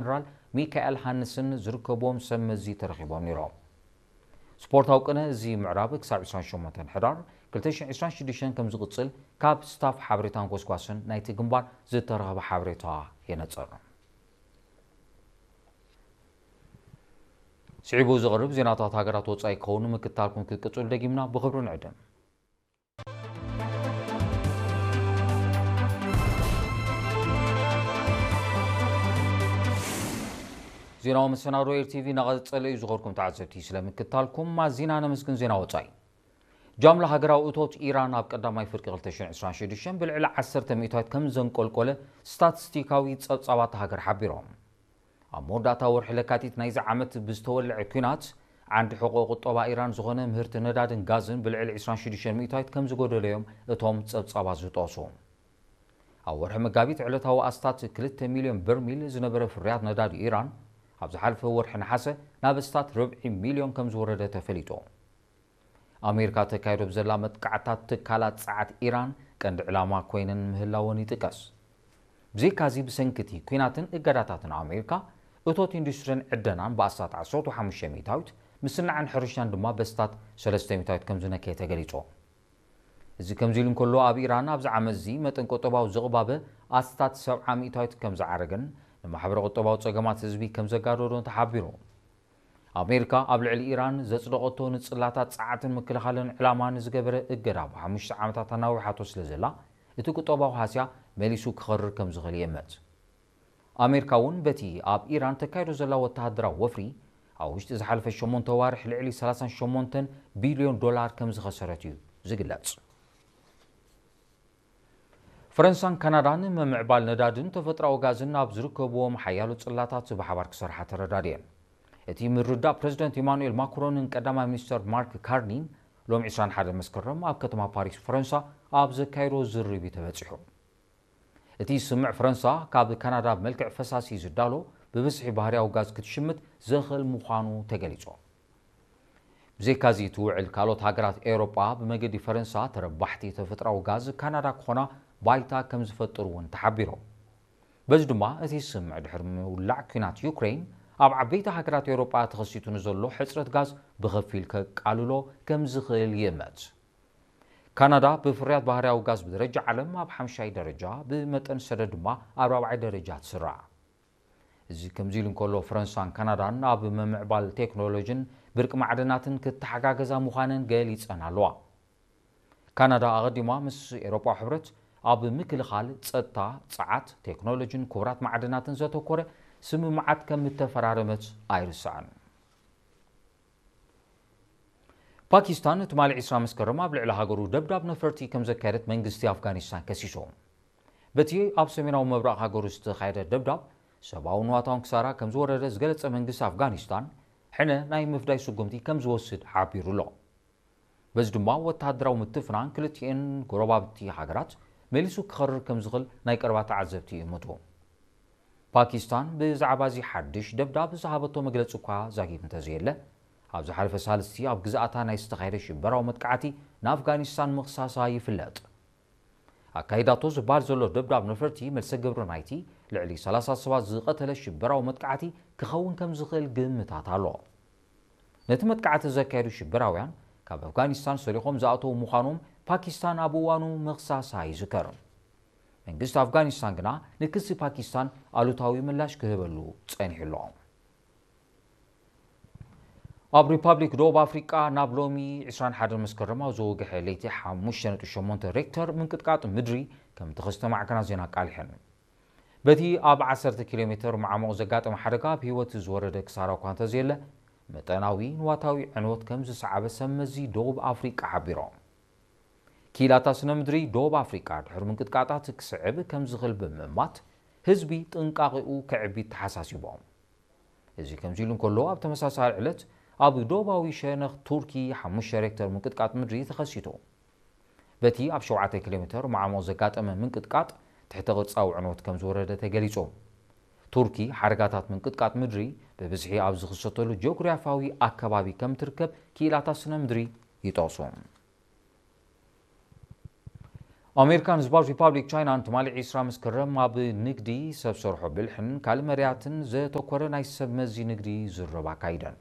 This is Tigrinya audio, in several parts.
ጀነራል ሚካኤል ሃንስን ዝርከብዎም ሰብ መዚ ተረኺቦም ነይሮም። ስፖርታዊ ቅነ እዚ ምዕራብ ክሳብ ዕስራን ሸሞንተን ሕዳር ክልተ ሽሕን ዕስራን ሽዱሽተን ከም ዝቕጽል ካብ ስታፍ ሓበሬታን ጎስጓስን ናይቲ ግንባር ዝተረኸበ ሓበሬታ የነጽር። ስዒቡ ዝቐርብ ዜናታት ሃገራት ወጻኢ ክኸውን ምክትታልኩም ክትቅጽሉ ደጊምና ብኽብሪ ንዕድም። ዜናዊ መሰናዶ ኤር ቲቪ እናቐጸለ እዩ። ዝኸርኩም ተዓዘብቲ ስለ ምክትታልኩም ኣዚና ነመስግን። ዜና ወጻኢ። ጃምላ ሃገራዊ እቶት ኢራን ኣብ ቀዳማይ ፍርቂ ክልተ ሽሕን ዕስራን ሽዱሽተን ብልዕሊ ዓሰርተ ሚእታዊት ከም ዘንቆልቆለ ስታቲስቲካዊ ጸብጻባት ሃገር ሓቢሮም። ኣብ መወዳእታ ወርሒ ለካቲት ናይዚ ዓመት ብዝተወልዐ ኲናት ዓንዲ ሕቖ ቁጠባ ኢራን ዝኾነ ምህርቲ ነዳድን ጋዝን ብልዕሊ ዕስራን ሽዱሽተን ሚእታዊት ከም ዝጎደለዮም እቶም ጸብጻባት ዝጠቕሱ። ኣብ ወርሒ መጋቢት ዕለታዊ ኣስታት ክልተ ሚልዮን በርሚል ዝነበረ ፍርያት ነዳዲ ኢራን ኣብ ዝሓለፈ ወርሒ ነሓሰ ናብ ኣስታት ርብዒ ሚልዮን ከም ዝወረደ ተፈሊጡ። ኣሜሪካ ተካይዶ ብዘላ መጥቃዕታት ትካላት ጸዓት ኢራን ቀንዲ ዕላማ ኮይነን ምህላወን ይጥቀስ። ብዘይካዚ ብሰንኪ እቲ ኲናትን እገዳታትን ኣሜሪካ እቶት ኢንዱስትሪን ዕደናን ብኣስታት ዓሰርተ ሓሙሽተ ሚእታዊት ምስናዕን ሕርሻን ድማ በስታት ሰለስተ ሚእታዊት ከም ዝነከየ ተገሊጹ። እዚ ከምዚ ኢሉ እንከሎ ኣብ ኢራን ኣብዚ ዓመት እዚ መጠን ቁጠባዊ ዝቕባበ ኣስታት ሰብዓ ሚእታዊት ከም ዝዓረገን ንማሕበረ ቁጠባዊ ጸገማት ህዝቢ ከም ዘጋደዶን ተሓቢሩ። ኣሜሪካ ኣብ ልዕሊ ኢራን ዘጽደቐቶ ንጽላታት ጸዓትን ምክልኻልን ዕላማ ንዝገበረ እገዳ ብሓሙሽተ ዓመታት ኣናዊሓቶ ስለ ዘላ እቲ ቁጠባዊ ሃስያ መሊሱ ክኸርር ከም ዝኽእል ይእመት። ኣሜሪካ እውን በቲ ኣብ ኢራን ተካይዶ ዘላ ወተሃደራዊ ወፍሪ ኣብ ውሽጢ ዝሓለፈ ሸሞንተ ዋርሕ ልዕሊ ሰላሳን ሸሞንተን ቢልዮን ዶላር ከም ዝኸሰረት እዩ ዝግለጽ። ፈረንሳን ካናዳን ምምዕባል ነዳድን ተፈጥሮኣዊ ጋዝን ኣብ ዝርከብዎም ሓያሎ ጽላታት ብሓባር ክሰርሓ ተረዳድየን። እቲ ምርዳእ ፕረዚደንት ኢማኑኤል ማክሮንን ቀዳማይ ሚኒስተር ማርክ ካርኒን ሎም ዕስራን ሓደን መስከረም ኣብ ከተማ ፓሪስ ፈረንሳ ኣብ ዘካየዶ ዝርርብ እዩ ተበጺሑ። እቲ ስምምዕ ፈረንሳ ካብ ካናዳ ብመልክዕ ፈሳሲ ዝዳሎ ብብዝሒ ባህርያዊ ጋዝ ክትሽምት ዘኽእል ምዃኑ ተገሊጹ። ብዘይካዚ እቲ ውዕል ካልኦት ሃገራት ኤውሮጳ ብመገዲ ፈረንሳ ተረባሕቲ ተፈጥሮኣዊ ጋዝ ካናዳ ክኾና ባይታ ከም ዝፈጥር እውን ተሓቢሩ። በዚ ድማ እቲ ስምምዕ ድሕሪ ምውላዕ ኲናት ዩክሬን ኣብ ዓበይቲ ሃገራት ኤውሮጳ ተኸሲቱ ንዘሎ ሕጽረት ጋዝ ብኸፊል ከቃልሎ ከም ዝኽእል ይእመት። ካናዳ ብፍርያት ባህርያዊ ጋዝ ብደረጃ ዓለም ኣብ ሓምሻይ ደረጃ፣ ብመጠን ሰደድ ድማ ኣብ ራብዓይ ደረጃ ትስራዕ። እዚ ከምዚ ኢሉ እንከሎ ፈረንሳን ካናዳን ኣብ ምምዕባል ቴክኖሎጂን ብርቂ ማዕድናትን ክተሓጋገዛ ምዃነን ገሊጸን ኣለዋ። ካናዳ ኣቐዲማ ምስ ኤውሮጳዊ ሕብረት ኣብ ምክልኻል፣ ጸጥታ፣ ጸዓት፣ ቴክኖሎጂን ክቡራት ማዕድናትን ዘተኮረ ስምምዓት ከም እተፈራረመት ኣይርሳዕን። ፓኪስታን ትማሊ ዕስራ መስከረም ኣብ ልዕሊ ሃገሩ ደብዳብ ነፈርቲ ከም ዘካየደት መንግስቲ ኣፍጋኒስታን ከሲሱ። በቲ ኣብ ሰሜናዊ ምብራቕ ሃገሩ ዝተኻየደ ደብዳብ ሰብኣውን ንዋታውን ክሳራ ከም ዝወረደ ዝገለጸ መንግስቲ ኣፍጋኒስታን ሕነ ናይ ምፍዳይ ስጉምቲ ከም ዝወስድ ሓቢሩ ኣሎ። በዚ ድማ ወተሃደራዊ ምትፍናን ክልቲኤን ጎረባብቲ ሃገራት መሊሱ ክኸርር ከም ዝኽእል ናይ ቀረባ ተዓዘብቲ ይእምቱ። ፓኪስታን ብዛዕባ እዚ ሓድሽ ደብዳብ ዝሃበቶ መግለጺ እኳ ዛጊብ እንተዘየለ፣ ኣብ ዝሓለፈ ሳልስቲ ኣብ ግዝኣታ ናይ ዝተኻየደ ሽበራዊ መጥቃዕቲ ንኣፍጋኒስታን ምኽሳሳ ይፍለጥ። ኣካይዳቶ ዝበሃል ዘሎ ደብዳብ ነፈርቲ መልሰ ግብሪ ናይቲ ልዕሊ ሰላሳ ሰባት ዝቐተለ ሽበራዊ መጥቃዕቲ ክኸውን ከም ዝኽእል ግምታት ኣሎ። ነቲ መጥቃዕቲ ዘካየዱ ሽበራውያን ካብ ኣፍጋኒስታን ሰሪቖም ዝኣተዉ ምዃኖም ፓኪስታን ኣብ እዋኑ ምኽሳሳ ይዝከር። መንግስቲ ኣፍጋኒስታን ግና ንክሲ ፓኪስታን ኣሉታዊ ምላሽ ክህበሉ ጸኒሑ ኣሎ። ኣብ ሪፓብሊክ ደቡብ ኣፍሪቃ ናብ ሎሚ ዕስራን ሓደን መስከረም ኣብ ዝወግሐ ለይቲ ሓሙሽተ ነጥቢ ሸሞንተ ሬክተር ምንቅጥቃጥ ምድሪ ከም ተኸስተ ማዕከናት ዜና ኣቃሊሐን። በቲ ኣብ ዓሰርተ ኪሎ ሜተር ማዕሙቕ ዘጋጠመ ሓደጋ ኣብ ህይወት ዝወረደ ክሳራ እኳ እንተዘየለ፣ መጠናዊ ንዋታዊ ዕንወት ከም ዝሰዓበ ሰብ መዚ ደቡብ ኣፍሪቃ ሓቢሮም። ክኢላታት ስነ ምድሪ ደቡብ ኣፍሪቃ ድሕሪ ምንቅጥቃጣት ክስዕብ ከም ዝኽእል ብምእማት፣ ህዝቢ ጥንቃቄኡ ከዕቢ ተሓሳሲቦም። እዚ ከምዚ ኢሉ እንከሎ፣ ኣብ ተመሳሳሊ ዕለት ኣብ ደቡባዊ ሸነኽ ቱርኪ ሓሙሽተ ሬክተር ምንቅጥቃጥ ምድሪ ተኸሲቱ። በቲ ኣብ ሸውዓተ ኪሎ ሜተር ማዕሙቕ ዘጋጠመ ምንቅጥቃጥ ትሕተ ቅርጻዊ ዕንወት ከም ዝወረደ ተገሊጹ። ቱርኪ ሓደጋታት ምንቅጥቃጥ ምድሪ ብብዝሒ ኣብ ዝኽሰተሉ ጂኦግራፊያዊ ኣከባቢ ከም ትርከብ ክኢላታት ስነ ምድሪ ይጠቕሱ። ኣሜሪካን ህዝባዊት ሪፓብሊክ ቻይናን ትማሊ ዕስራ መስከረም ኣብ ንግዲ፣ ሰብ ሰርሖ ብልሕን ካልእ መዳያትን ዘተኮረ ናይ ሰብ መዚ ንግዲ ዝርርብ ኣካይደን።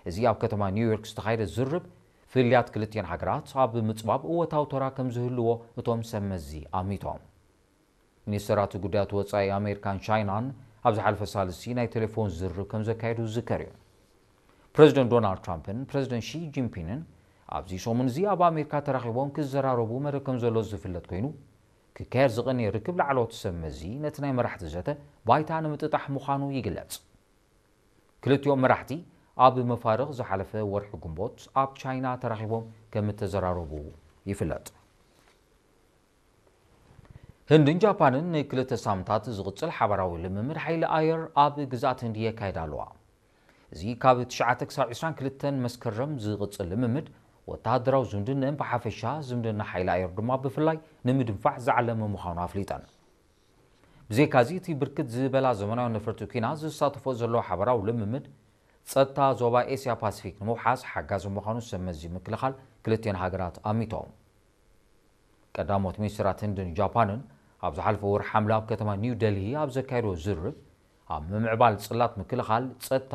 እዚ ኣብ ከተማ ኒውዮርክ ዝተኻየደ ዝርርብ፣ ፍልልያት ክልቲኤን ሃገራት ኣብ ምጽባብ እወታዊ ተራ ከም ዝህልዎ እቶም ሰብ መዚ ኣሚቶም። ሚኒስተራት ጉዳያት ወጻኢ ኣሜሪካን ቻይናን ኣብ ዝሓለፈ ሳልስቲ ናይ ቴሌፎን ዝርርብ ከም ዘካየዱ ዝዝከር እዩ። ፕረዚደንት ዶናልድ ትራምፕን ፕረዚደንት ሺ ጂንፒንግን ኣብዚ ሰሙን እዚ ኣብ ኣሜሪካ ተራኺቦም ክዘራረቡ መደብ ከም ዘሎ ዝፍለጥ ኮይኑ፣ ክካየድ ዝቐነየ ርክብ ላዕለዎት ሰብ መዚ ነቲ ናይ መራሕቲ ዘተ ባይታ ንምጥጣሕ ምዃኑ ይግለጽ። ክልቲኦም መራሕቲ ኣብ መፋርቕ ዝሓለፈ ወርሒ ግንቦት ኣብ ቻይና ተራኺቦም ከም እተዘራረቡ ይፍለጥ። ህንድን ጃፓንን ንክልተ ሳምንታት ዝቕጽል ሓባራዊ ልምምድ ሓይሊ ኣየር ኣብ ግዝኣት ህንዲ የካይዳ ኣለዋ። እዚ ካብ ትሽዓተ ክሳብ ዕስራን ክልተን መስከረም ዝቕጽል ልምምድ፣ ወተሃደራዊ ዝምድንአን ብሓፈሻ፣ ዝምድና ሓይሊ ኣየር ድማ ብፍላይ ንምድንፋዕ ዝዓለመ ምዃኑ ኣፍሊጠን። ብዘይካዚ፣ እቲ ብርክት ዝበላ ዘመናዊ ነፈርቲ ኲናት ዝሳተፎ ዘሎ ሓባራዊ ልምምድ፣ ጸጥታ ዞባ ኤስያ ፓሲፊክ ንምውሓስ ሓጋዚ ምዃኑ ሰብ መዚ ምክልኻል ክልቲኤን ሃገራት ኣሚቶም። ቀዳሞት ሚኒስትራት ህንድን ጃፓንን ኣብ ዝሓለፈ ወርሒ ሓምለ ኣብ ከተማ ኒው ደልሂ ኣብ ዘካየድዎ ዝርርብ፣ ኣብ ምምዕባል ጽላት ምክልኻል፣ ጸጥታ፣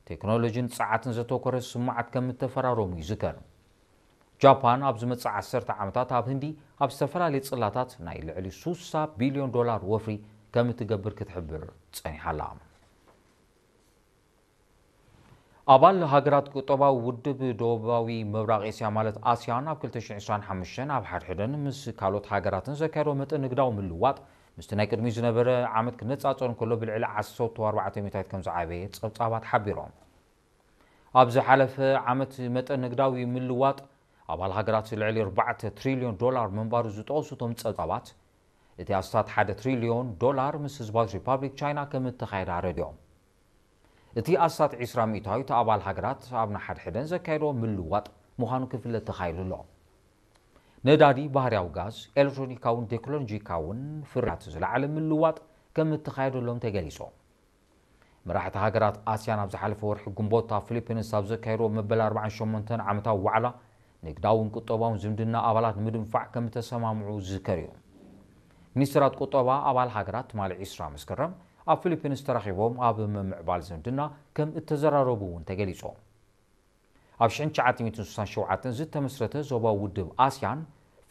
ቴክኖሎጂን ጸዓትን ዘተኮረ ስምምዓት ከም እተፈራረሙ ይዝከር። ጃፓን ኣብ ዝመጽእ ዓሰርተ ዓመታት ኣብ ህንዲ ኣብ ዝተፈላለዩ ጽላታት ናይ ልዕሊ ሱሳ ቢልዮን ዶላር ወፍሪ ከም እትገብር ክትሕብር ጸኒሓ ኣላ። ኣባል ሃገራት ቁጠባዊ ውድብ ደቡባዊ ምብራቕ ኤስያ ማለት ኣስያን ኣብ ክልተ ሽሕን ዕስራን ሓሙሽተን ኣብ ሓድሕደን ምስ ካልኦት ሃገራትን ዘካየዶ መጠን ንግዳዊ ምልዋጥ ምስቲ ናይ ቅድሚኡ ዝነበረ ዓመት ክነጻጸር እንከሎ ብልዕሊ ዓሰርተ ኣርባዕተ ሚእታዊት ከም ዝዓበየ ጸብጻባት ሓቢሮም። ኣብ ዝሓለፈ ዓመት መጠን ንግዳዊ ምልዋጥ ኣባል ሃገራት ልዕሊ ኣርባዕተ ትሪልዮን ዶላር ምንባሩ ዝጠቐሱ እቶም ጸብጻባት፣ እቲ ኣስታት ሓደ ትሪልዮን ዶላር ምስ ህዝባዊት ሪፓብሊክ ቻይና ከም እተኻየደ ኣረዲኦም። እቲ ኣስታት ዕስራ ሚእታዊት ኣባል ሃገራት ኣብ ንሓድሕደን ዘካየድኦ ምልዋጥ ምዃኑ ክፍለጥ ተኻኢሉ ኣሎ። ነዳዲ፣ ባህርያዊ ጋዝ፣ ኤሌክትሮኒካውን ቴክኖሎጂካውን ፍርያት ዝለዓለ ምልዋጥ ከም እተኻየደሎም ተገሊጹ። መራሕቲ ሃገራት ኣስያን ኣብ ዝሓለፈ ወርሒ ግንቦት ኣብ ፊሊፒንስ ኣብ ዘካየድዎ መበል ኣርባዓን ሸሞንተን ዓመታዊ ዋዕላ፣ ንግዳውን ቁጠባውን ዝምድና ኣባላት ንምድንፋዕ ከም እተሰማምዑ ዝዝከር እዩ። ሚኒስትራት ቁጠባ ኣባል ሃገራት ትማሊ ዕስራ መስከረም ኣብ ፊሊፒንስ ተራኺቦም ኣብ ምምዕባል ዝምድና ከም እተዘራረቡ እውን ተገሊጹ። ኣብ ሽሕን ትሽዓተ ሚእትን ስሳን ሸውዓተን ዝተመስረተ ዞባዊ ውድብ ኣስያን፣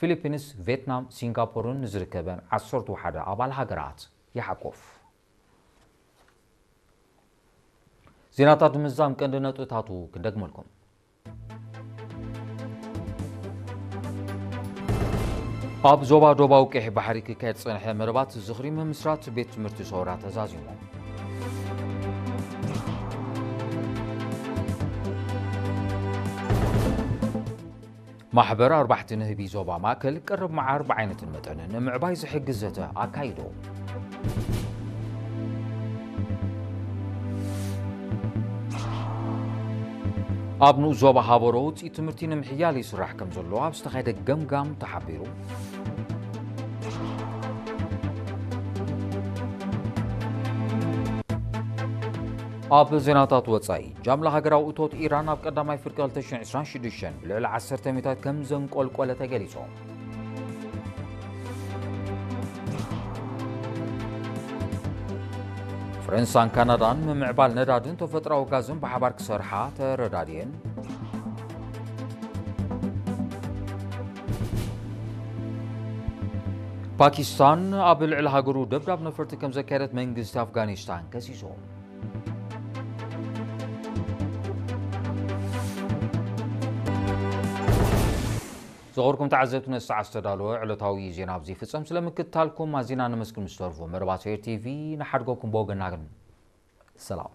ፊሊፒንስ፣ ቪየትናም፣ ሲንጋፖርን ንዝርከበን ዓሰርተ ሓደ ኣባል ሃገራት ይሓቁፍ። ዜናታት ንምዝዛም ቀንዲ ነጥብታቱ ክንደግመልኩም። ኣብ ዞባ ዶባዊ ቀይሕ ባሕሪ ክካየድ ዝጸንሐ መደባት ዝኽሪ ምምስራት ቤት ትምህርቲ ሰውራ ተዛዚሙ። ማሕበር ኣርባሕቲ ንህቢ ዞባ ማእከል ቀረብ መዓር ብዓይነትን መጠንን ንምዕባይ ዝሕግዝ ዘተ ኣካይዱ። ኣብ ንኡስ ዞባ ሃበሮ ውፅኢት ትምህርቲ ንምሕያል ይስራሕ ከም ዘሎ ኣብ ዝተኻየደ ገምጋም ተሓቢሩ። ኣብ ዜናታት ወጻኢ፣ ጃምላ ሃገራዊ እቶት ኢራን ኣብ ቀዳማይ ፍርቂ ክልተ ሽሕን ዕስራን ሽዱሽተን ብልዕሊ ዓሰርተ ሚእታዊት ከም ዘንቆልቆለ ተገሊጹ። ፈረንሳን ካናዳን ምምዕባል ነዳድን ተፈጥሮኣዊ ጋዝን ብሓባር ክሰርሓ ተረዳድየን። ፓኪስታን ኣብ ልዕሊ ሃገሩ ደብዳብ ነፈርቲ ከም ዘካየደት መንግስቲ ኣፍጋኒስታን ከሲሱ። ዝኸበርኩም ተዓዘብቲ፣ ነዚ ሰዓት ዝተዳለወ ዕለታዊ ዜና ኣብዚ ይፍጸም። ስለ ምክትታልኩም ኣዚና ነመስግን። ምስ ተርፎ መርባት ኤር ቲቪ ንሓድጎኩም ብወገና ግን ሰላም።